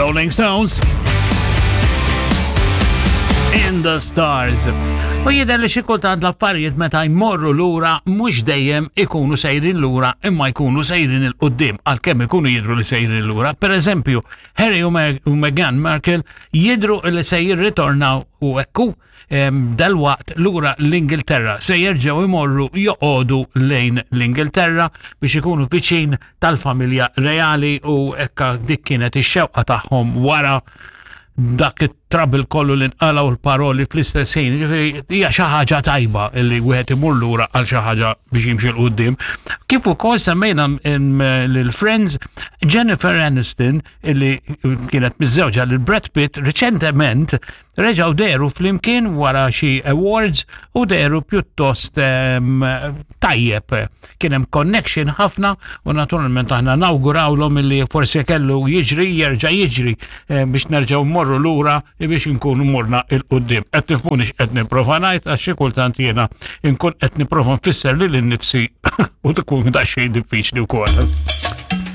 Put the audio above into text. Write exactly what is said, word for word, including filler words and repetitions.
Rolling Stones. In the Stars. U jidher li xi kultant l-affarijiet meta jmorru lura mhux dejjem ikunu sejrin lura imma jkunu sejrin 'il quddiem għalkemm ikunu jidhru li sejrin lura. Per eżempju, Harry u, Meg u Meghan Markle jidhru li se jirritornaw u ekku dalwaqt lura l-Ingilterra se jerġgħu imorru joqogħdu lejn l-Ingilterra biex ikunu viċin tal-familja reali u ekka dik kienet ix-xewqa tagħhom wara dak it-trouble kollu li nqala u l-paroli fl-istess ħin. Ġifieri hija xi ħaġa tajba li wieħed imur lura għal xi ħaġa biex jimxi 'l quddiem. Kif ukoll semmejna lil Friends Jennifer Aniston illi kienet miżżewġa lil Brad Pitt riċentement reġgħu dehru flimkien wara xi awards u dehru pjuttost tajjeb. Kien hemm connection ħafna u naturalment aħna nawgurawlhom illi forsi kellu jiġri jerġa' jiġri biex nerġgħu mmorru lura biex nkunu morna 'l quddiem. Qed tifhmuni x'qed nipprova ngħid għax xi kultant jiena nkun qed nipprova nfisser lili nnifsi u tkun daqsxejn diffiċli wkoll.